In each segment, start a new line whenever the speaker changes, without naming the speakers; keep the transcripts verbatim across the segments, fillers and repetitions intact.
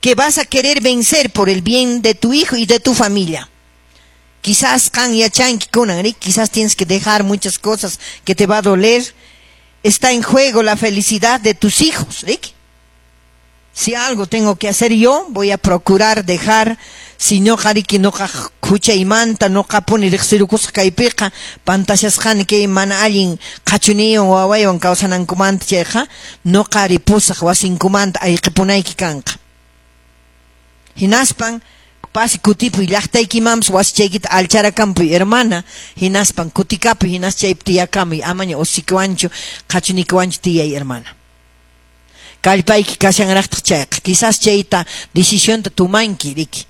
Que vas a querer vencer por el bien de tu hijo y de tu familia. Quizás qan yachanki kunan, quizás tienes que dejar muchas cosas que te va a doler. Está en juego la felicidad de tus hijos, riki. Si algo tengo que hacer yo, voy a procurar dejar, si ñuqa riki ñuqa huchaymanta ñuqapuni riqsirukusqa kaypiqa pantashasqani kay mana allin qhachuniywan wawaywan kawsanankumanta chayqa ñuqa ripusaq wasinkumanta ayqipunayki kanqa hinaspan pasi kutipuy llaqtaykimanpas wasichaykita alcharakampuy, hermana, hinaspan kutikapuy hinas chaypi tiyakamuy amaña usikiwanchu qhachunikiwanchu tiyay, hermana, kallpayki kashanraqtaq chayqa quizás chayta decisionta tumanki riki.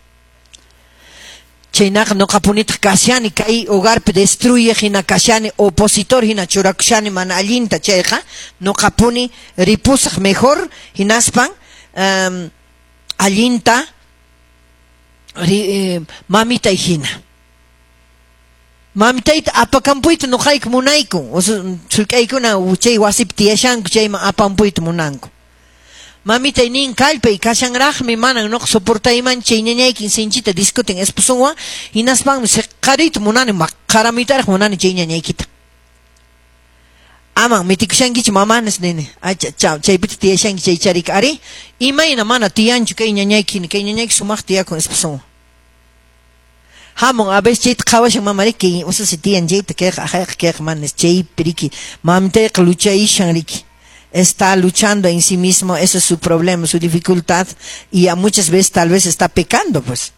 Chaynaqa ñuqapunitaq kashani kay hogarpi destruye hina kashani opositor hina churakushani mana allinta chayqa ñuqapuni ripusaq mejor hinaspan um, allinta ri, eh, mamitay hina mamitayta apakampuyta ñuqayku munayku sullk'aykuna chay wasipi tiyashanku chayman apampuyta munanku. Mamitay nin kallpay kashanraqmi manan ñuqa soportayman chay ñañaykin sinchita discuten esposunwan hinaspanmi siqariyta munani maqaramuytaraq munani chay ñañaykita aman mitikushankichu mamanas nini acha chaw chaypita tiyashanki chay charika ari imayna mana tiyanchu kay ñañayki kay ñañayki sumaq tiyakun esposunwan hamun a veces chayta qhawashan mama riki ususi tiyan chayta kayqa ajayqa kayqa manas chaypi riki mamitayqa luchayishan riki. Está luchando en sí mismo, ese es su problema, su dificultad, y a muchas veces tal vez está pecando, pues.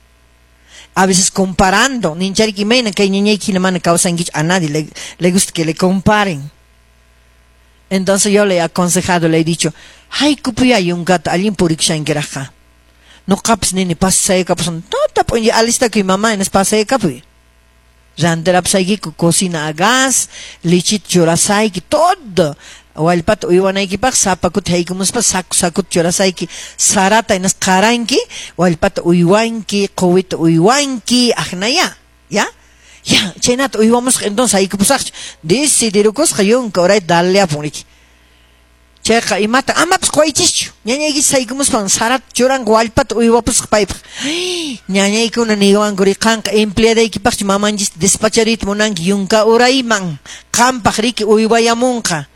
A veces comparando, ninchariki imayna kay ñañayki mana kawsankichu, a nadie le, le gusta que le comparen. Entonces yo le he aconsejado, le he dicho, haykupuyá yunkata allin purikushankiraqqa. Ñuqapas nini pasaykapusun, tuta p'unlla alistakuy mamá, hinas pasaykapuy. Rantirapusaykiku cocina a gas, lichita churasayki, todo. Wallpata uywanaykipaq sapa kuti haykumuspa saku sakuta churasayki sarata hinas qaranki wallpata uywanki quwita uywanki aqnaya ya ya chaynata uywamusqa entonces haykupusaqchu decidirukusqa yunka urayta daleapun riki chayqa imata amapas quwaychischu ñañaykichis haykumuspan sarata churanqa wallpata uywapusqa paypaq ñañaykuna niwanku ri qanqa empleadaykipaqchu mamanchista despachariyta munanki yunka urayman qampaq riki uywayamunqa.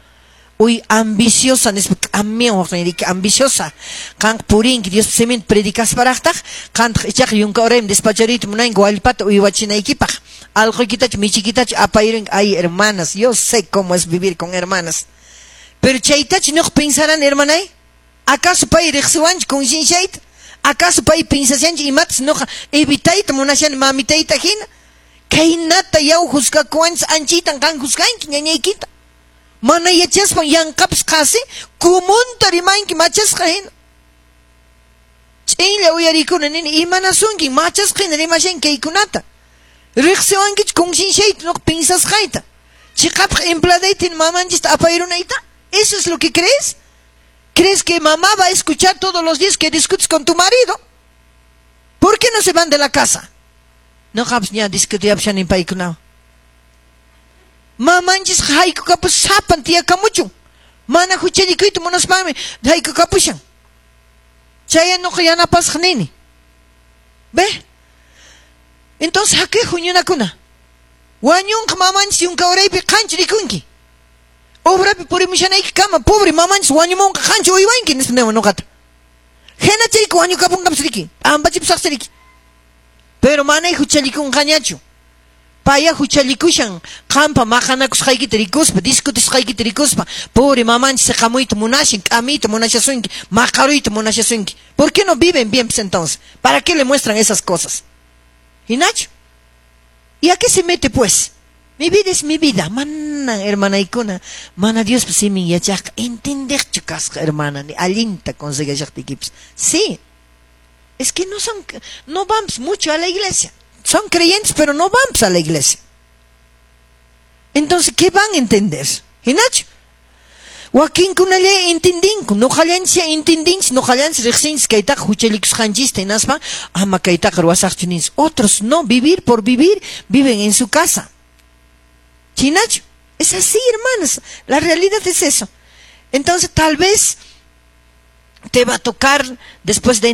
Uy, ambiciosa, nispa k'amiyan riki ambiciosa. Qanqa purinki Dios siminta predicasparaqtaq, qantaq ichaqa yunka urayman despachariyta munanki wallpata uywachinaykipaq. Allquykitachu michikitachu apayrinki. Ay, hermanas, yo sé cómo es vivir con hermanas. Pero chaytachu ñuqa pensarani, hermanay? ¿Acaso pay riqsiwanchu concienciayta? ¿Acaso pay pensashanchu imatas ñuqa evitayta munashani mamitayta hina? Khaynata yaw juzgakuwanchis anchaytan qan juzganki ñañaykita. Mana yachaspan yanqapas qasi kumunta rimanki machasqa hina. Ch'inlla uyarikuna nini imanasunki machasqa hina rimashanki kaykunata. Riqsiwankichu concienciayta ñuqa pensasqayta. Chiqapaq empleadayta hina mamanchista apayrunayta? ¿Eso es lo que crees? ¿Crees que mamá va a escuchar todos los días que discutes con tu marido? ¿Por qué no se van de la casa? Ñuqapas ña discutiyapashani paykunawan. Mamanchis haykukapus sapan tiyakamuchun. Mana huchallikuyta munaspanmi haykukapushan. Chay ñuqa yanapasaq nini. Ve? Entonces, haki huñunakuna. Wañunqa mamanchis yunka uraypi qanchu rikunki. Obrapi purimushanayki kama pobre mamanchis wañumunqa qanchu uywanki nispa niwan ñuqata. Hina chayku wañukapunqapas riki. P'ampachipusaqsi riki. Pero manay huchallikunqañachu. Paya huchallikushan qampa maqanakusqaykita rikuspa, discutisqaykita rikuspa, pobre mamanchis siqamuyta munashan, k'amiyta munashasunki, maqaruyta munashasunki. ¿Por qué no viven bien pues entonces? ¿Para qué le muestran esas cosas? ¿Hinachu? ¿Y a qué se mete pues? Mi vida es mi vida. Mana, hermanaykuna, mana Diospa simin yachaqqa entendeqchu kasqa, hermana, ni allinta consejashaqtiykipas. Sí. Es que no son, no vamos mucho a la iglesia. Son creyentes, pero no vamos a la iglesia. Entonces, ¿qué van a entender? ¿Hinachu? Wakinkunalla entendinku, ñuqallanchis entendinchis, ñuqallanchis riqsinchis kaytaqa huchallikusqanchista hinaspa ama kaytaqa ruwasaqchu ninchis. Otros no, vivir por vivir, viven en su casa. ¿Chinachu? Es así, hermanos. La realidad es eso. Entonces, tal vez Te va a tocar después de